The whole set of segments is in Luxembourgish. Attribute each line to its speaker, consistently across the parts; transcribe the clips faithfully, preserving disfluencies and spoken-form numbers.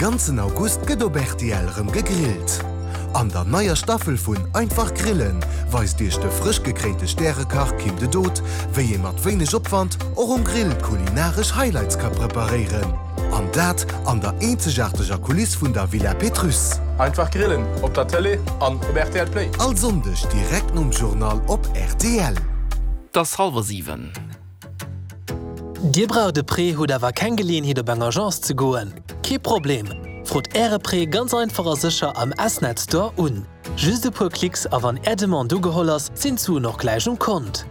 Speaker 1: ganzen August gëtt op rtl rëm gegrillt. An der neier Staffel vun Einfach Grillen weist Iech de frësch gekréinte Stärekach Kim de Dood, wéi ee mat wéineg Opwand och um Grill kulinaresch Highlights ka preparéieren. An dat an der eenzegaarteger Kuliss vun der Villa Pétrusse.
Speaker 2: Einfach Grillen op der Tëlee an op rtl Play.
Speaker 1: All Sonndeg direkt nom Journal op rtl.
Speaker 3: Et ass hallwer siwen.
Speaker 4: Dir braucht e Prêt, hutt awer keng Geleeënheet op eng Agence ze goen? Kee Problem! Frot Äre Prêt ganz einfach a sécher am S-Net Store un. Just e puer Klicks a wann Är Demande ugeholl ass, sinn d'Suen och gläich um Kont.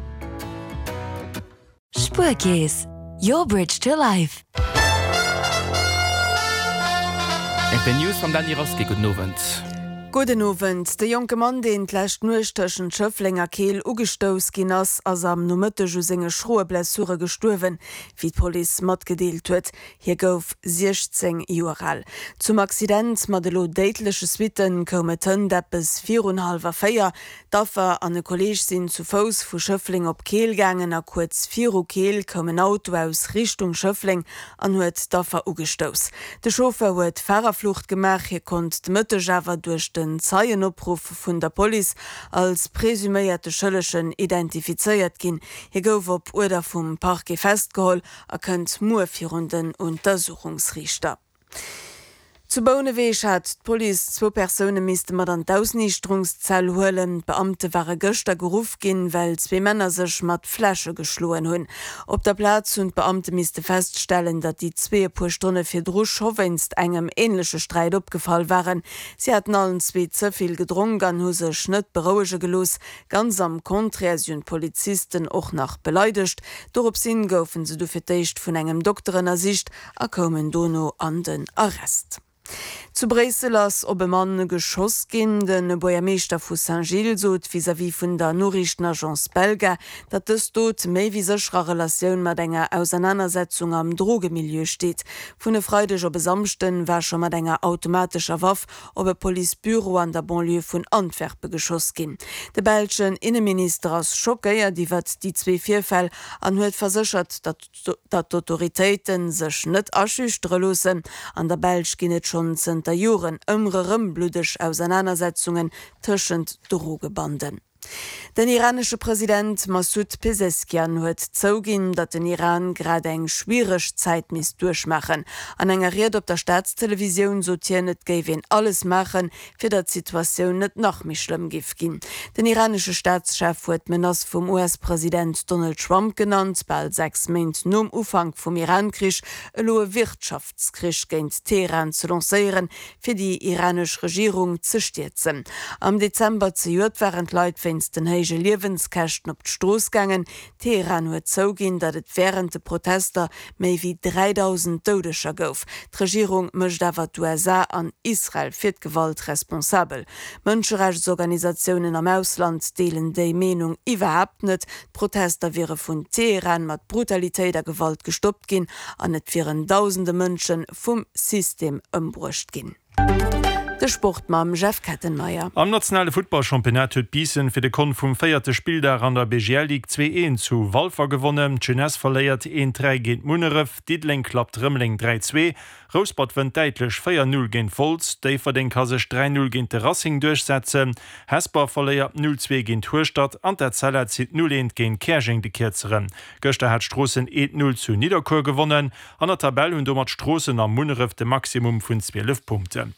Speaker 5: Spuerkeess, your bridge to life.
Speaker 3: R T L News mam Dany Rasqué. Gudden Owend.
Speaker 6: Gudden Owend. De jonke Mann, deen d'lescht Nuecht tëschent Schëffleng a Keel ugestouss ginn ass, ass am Nomëtteg u senge schroe Blessure gestuerwen, wéi d'Police matgedeelt huet. Hie gouf siechzéng Joer al. Zum Accident mat elo déidleche Suitte koum et hënt eppes virun hallwer véier. D'Affer an e Kolleeg sinn zu Fouss vu Schëffleng op Keel gaangen a kuerz viru Keel koum en Auto aus Richtung Schëffleng an huet d'Affer ugestouss. De Chauffeur huet Farerflucht gemaach, hie konnt de Mëtteg awer duerch den Zeienopruff vun der Police als presuméierte Schëllegen identifizéiert ginn. Hie gouf op Uerder vum Parquet festgeholl a kënnt muer virun den Untersuchungsriichter. Zu Bouneweg hat d'Police zwou Persoune misste mat an d'Ausniichterungszell huelen. D'Beamte ware gëschter geruff ginn, well zwee Männer sech mat Fläsche geschloen hunn. Op der Plaz hunn d'Beamte misste feststellen, datt déi zwee e puer Stonne virdru scho wéinst engem änleche Sträit opgefall waren. Si haten allen zwee ze vill gedronk an hu sech net berouege gelooss. Ganz am Contraire, si hunn d'Polizisten och nach beleidegt. Doropshin goufen se du fir d'éischt vun engem Dokter ënnersicht a koumen dono an den Arrest. Zu Bréissel ass op e Mann geschoss ginn. De Buergermeeschter vu Saint-Gilles sot vis-à-vis vun der Noriichtenagence Belga, datt dës Dot méi wéi sécher a Relatioun mat enger Ausernanersetzung am Drogemilieu steet. Vun e Freideg op e Samschden war scho mat enger automatescher Waff op e Policebüro an der Banlieue vun Antwerpe geschoss ginn. De belschen Inneminister ass schockéiert iwwert déi zwee Virfäll an huet verséchert, datt datt d'Autoritéite sech net aschüchtere loossen. An der Belsch ginn et schonn zënter Joren ëmmer erëm bluddeg Ausernanersetzungen tëschent Drogebanden. Den iranesche President Massoud Peseschkian huet zouginn, datt den Iran grad eng schwiereg Zäit misst duerchmaachen. An enger Ried op der Staatstelevisioun sot hien, et géif een alles maachen, fir datt d'Situatioun net nach méi schlëmm géif ginn. Den iranesche Staatschef huet d'Menace vum U S-President Donald Trump genannt, bal sechs Méint nom Ufank vum Iran-Krich elo e Wirtschaftskrich géint Teheran ze lancéieren, fir déi iranesch Regierung ze stierzen. Am Dezember zejoert waren d'Leit wéinst den héije Liewenskäschten op d'Strooss gaangen. Teheran huet zouginn, datt et wärend de Protester méi wéi dräidausend Doudeger gouf. D'Regierung mécht awer d'U S A an Israel fir d'Gewalt responsabel. Mënscherechtsorganisatiounen am Ausland deelen déi Meenung iwwerhaapt net. D'Protester wiere vun Teheran mat Brutalitéit a Gewalt gestoppt ginn an et wieren dausende Mënsche vum System ëmbruecht ginn. De Sport mam Jeff Kettenmeyer.
Speaker 7: Am nationale Futtballchampionnat huet Biissen fir de Kont vum véierte Spilldag an der B G L Ligue zwee eent zu Walfer gewonnen. D'Jeunesse verléiert eent dräi géint Munneref, Diddeleng klappt Rëmeleng dräi zwee, Rouspert wënnt däitlech véier null géint Wolz, Déifferdeng ka sech dräi null géint de Racing duerchsetzen, Hesper verléiert null zwee géint Hueschtert an d'Etzella zitt null eent géint Käerjeng de Kierzeren. Gëschter hat Stroossen eent null zu Nidderkuer gewonnen. An der Tabell hunn domat Stroossen a Munneref de Maximum vun zwielef Punkten.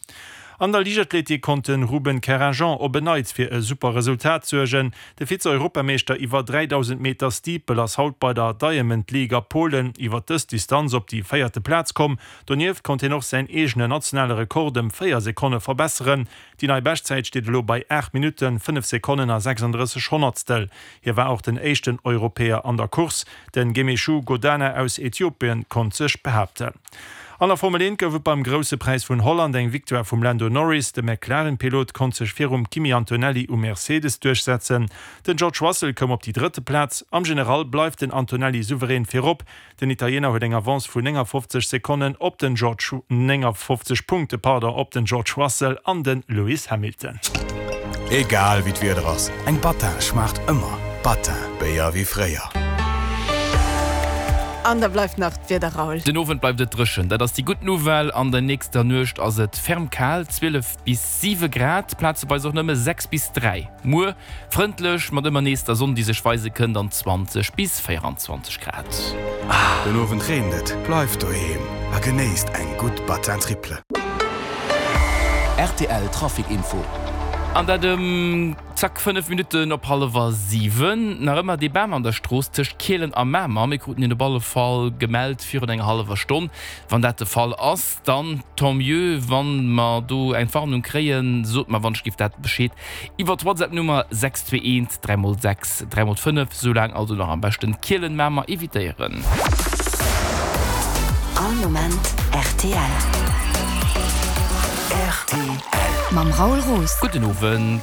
Speaker 7: An der Liichtathletik konnt de Ruben Kerrinjean op en Neits fir e super Resultat suergen. De Vize-Europameeschter iwwer dräidausend Meter Steeple ass haut bei der Diamond League a Polen iwwer dës Distanz op déi véierte Plaz komm. Donieft konnt hien och säin eegenen nationale Rekord ëm véier Sekonne verbesseren. Déi nei Beschtzäit steet elo bei aacht Minutten, fënnef Sekonnen a sechsanddrësseg Honnertstel. Hie war och den éischten Europäer an der Course. Den Gemechu Godana aus Äthiopien konnt sech behaapten. An der Formel eent gouf et beim Grousse Präis vun Holland eng Victoire vum Lando Norris. De McLaren-Pilot konnt sech virum Kimi Antonelli um Mercedes duerchsetzen. Den George Russell koum op déi drëtte Plaz. Am General bleift den Antonelli souverän virop. Den Italiener huet eng Avance vun néngafofzeg Sekonnen op den George, néngafofzeg Punkte, pardon, op den George Russell an den Lewis Hamilton.
Speaker 8: Egal wéi d'Wieder ass, eng Battin schmaacht ëmmer. Battin, Béier wéi fréier.
Speaker 6: An da bleift nach d'Wieder, Raoul.
Speaker 3: Den Owend bleift et dréchen, dat ass déi gutt Nouvelle. An der nächster Nuecht ass et ferm kal, zwielef bis siwe Grad, plazeweis och nëmme sechs bis dräi. Muer frëndlech mat ëmmer nees der Sonn, déi sech weise kënnt, an zwanzeg bis véierundzwanzeg Grad.
Speaker 8: Den Owend reent et, bleift doheem a genéisst eng gutt Batin Triple.
Speaker 9: Rtl Trafic Info.
Speaker 3: An dat ëm zack fënnef Minutten op hallwer siwen. Nach ëmmer dee Bam an der Strooss tëscht Kielen a Mamer. Mir kruten hien op alle Fall gemellt virun enger hallwer Stonn. Wann dat de Fall ass, dann tant mieux. Wann mer do eng Warnung kréien, sot mer wann ech giff dat Bescheed iwwer d'Whatsapp-Nummer sechs zwee eent dräi mol sechs dräi mol fënnef. Soulaang also nach am beschten Kielen-Mamer evitéieren.
Speaker 5: All Moment rtl.
Speaker 1: Rtl.
Speaker 5: Mam Raoul Roos.
Speaker 3: Gudden Owend.